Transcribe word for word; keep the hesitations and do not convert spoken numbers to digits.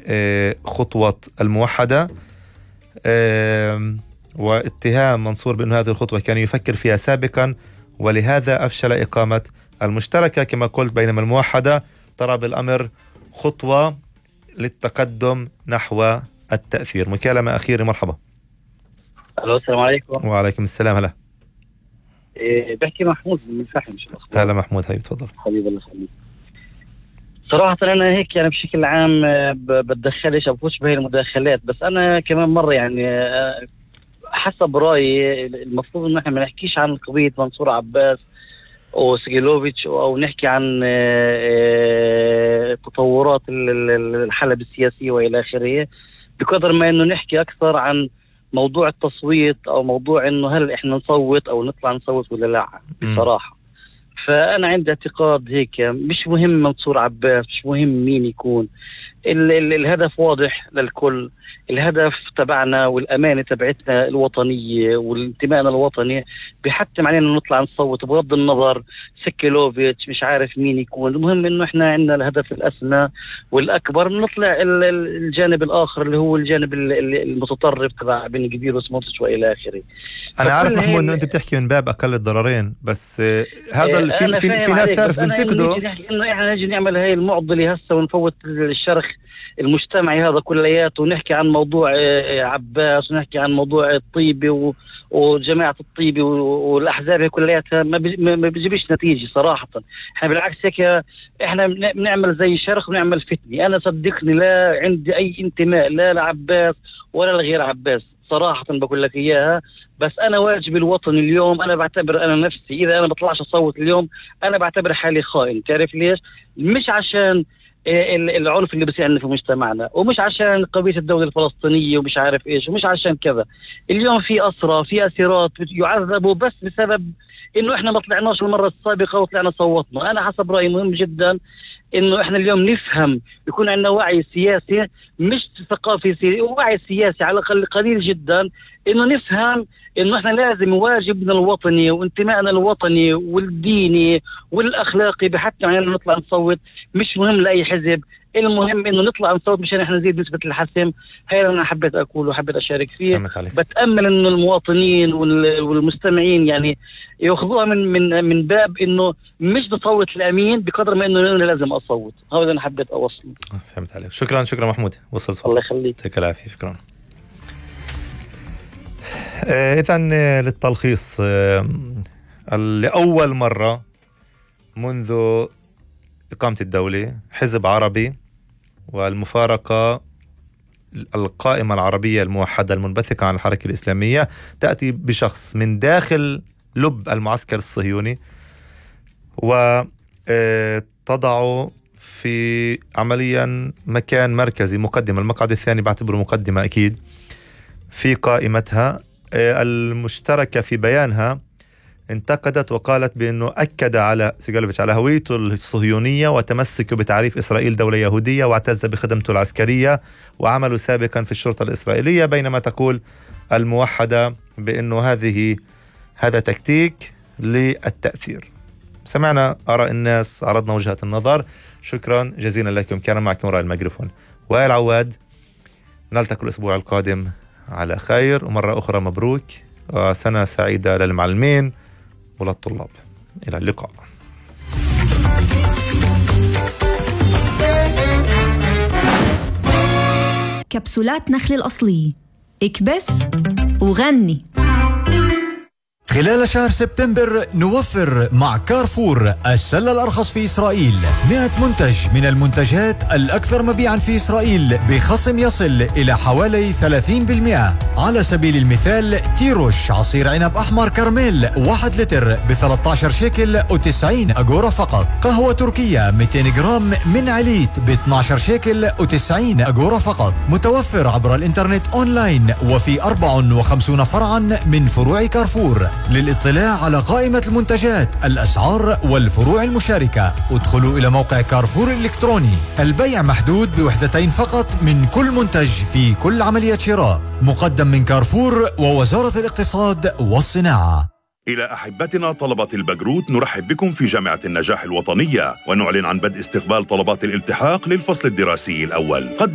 بخطوة الموحدة واتهام منصور بأن هذه الخطوة كان يفكر فيها سابقا ولهذا أفشل إقامة المشتركة كما قلت، بينما الموحدة ترى بالأمر خطوة للتقدم نحو التأثير. مكالمة أخيرة، مرحبا. ألو، السلام عليكم. وعليكم السلام. هلا. إيه بحكي محمود من الفحم. هلا محمود، هاي تفضل. حبيبي الله يخليك. صراحة أنا هيك يعني بشكل عام بتدخلش أو بفوتش بهي المداخلات، بس أنا كمان مرة يعني حسب رأيي المفروض إن إحنا ما نحكيش عن قضية منصور عباس وسجيلوفيتش أو نحكي عن تطورات الحلبة السياسية وإلى آخره، بقدر ما إنه نحكي أكثر عن موضوع التصويت أو موضوع إنه هل إحنا نصوت أو نطلع نصوت ولا لا. بصراحة فأنا عندي اعتقاد هيك، مش مهم منصور عباس، مش مهم مين يكون، ال- ال- الهدف واضح للكل. الهدف تبعنا والأمانة تبعتنا الوطنية والانتمائنا الوطني بيحتم علينا نطلع نصوت بغض النظر سكيلوفيتش مش عارف مين يكون. المهم إنه إحنا عندنا الهدف الأسمى والأكبر، نطلع ال- ال- الجانب الآخر اللي هو الجانب ال- ال- المتطرف تبع بن كبير وسموتش وإلى آخره. أنا عارف محمود إنه أنت بتحكي من باب أقل الضررين، بس آه هذا آه في في, في ناس تعرف بنتقده إنه إحنا نجي نعمل هاي المعضلة هسه ونفوت الشرخ المجتمعي هذا كلياته ونحكي عن موضوع عباس ونحكي عن موضوع الطيبي وجماعة الطيبي والأحزاب كلياتها ما بيجيبش نتيجة صراحة. احنا بالعكس هيك احنا بنعمل زي شرخ ونعمل فتنة. أنا صدقني لا عندي أي انتماء لا لعباس ولا لغير عباس صراحة بقول لك إياها، بس أنا واجب الوطني اليوم. أنا بعتبر أنا نفسي إذا أنا بطلعش أصوت اليوم أنا بعتبر حالي خائن. تعرف ليش؟ مش عشان العنف اللي بيصير عندنا في مجتمعنا، ومش عشان قضية الدولة الفلسطينية ومش عارف إيش، ومش عشان كذا. اليوم في أسرى في أسيرات يعذبوا بس بسبب إنه إحنا ما طلعناش المرة السابقة وطلعنا صوتنا. أنا حسب رأيي مهم جدا إنه إحنا اليوم نفهم، يكون عندنا وعي سياسي مش ثقافي سياسي، وعي سياسي على الأقل قليل جدا، إنه نفهم إنه إحنا لازم واجبنا الوطني وانتمائنا الوطني والديني والأخلاقي بحتى يعني نطلع نصوت. مش مهم لأي حزب، المهم إنه نطلع نصوت مشان إحنا نزيد نسبة الحسم. هاي أنا حبيت أقول وحبيت أشارك فيه. بتأمل إنه المواطنين والمستمعين يعني يأخذوها من من من باب إنه مش نصوت الأمين بقدر ما إنه أنا لازم أصوت. هذا أنا حبيت أوصل. فهمت عليك. شكرا شكرا محمود، وصل صوت. الله يخليك. يعطيك العافية. شكرا. إذا للتلخيص، لأول مرة منذ إقامة الدولة حزب عربي والمفارقة القائمة العربية الموحدة المنبثقة عن الحركة الإسلامية تأتي بشخص من داخل لب المعسكر الصهيوني وتضع في عمليا مكان مركزي مقدمة، المقعد الثاني بعتبره مقدمة أكيد في قائمتها. المشتركة في بيانها انتقدت وقالت بأنه أكد على سيجالوفيتش على هويته الصهيونية وتمسكه بتعريف إسرائيل دولة يهودية واعتز بخدمته العسكرية وعمله سابقا في الشرطة الإسرائيلية، بينما تقول الموحدة بأنه هذه هذا تكتيك للتأثير. سمعنا آراء الناس، عرضنا وجهة النظر. شكرا جزيلا لكم. كان معكم رائع الميكروفون وائل عواد. نلتقي الأسبوع القادم على خير، ومرة أخرى مبروك وسنة سعيدة للمعلمين وللطلاب. إلى اللقاء. كبسولات نخل الأصلية، اكبس وغني. خلال شهر سبتمبر نوفر مع كارفور السلة الأرخص في إسرائيل، مئة منتج من المنتجات الأكثر مبيعا في إسرائيل بخصم يصل إلى حوالي ثلاثين بالمئة. على سبيل المثال تيروش عصير عنب أحمر كرميل واحد لتر بثلاثة عشر شيكل وتسعين أجورة فقط. قهوة تركية مئتين جرام من عليت باثني عشر شيكل وتسعين أجورة فقط. متوفر عبر الإنترنت أونلاين وفي أربعة وخمسين فرعا من فروع كارفور. للاطلاع على قائمة المنتجات، الأسعار والفروع المشاركة ادخلوا إلى موقع كارفور الإلكتروني. البيع محدود بوحدتين فقط من كل منتج في كل عملية شراء. مقدم من كارفور ووزارة الاقتصاد والصناعة. إلى أحبتنا طلبة البكالوريوس نرحب بكم في جامعة النجاح الوطنية ونعلن عن بدء استقبال طلبات الالتحاق للفصل الدراسي الأول. قدم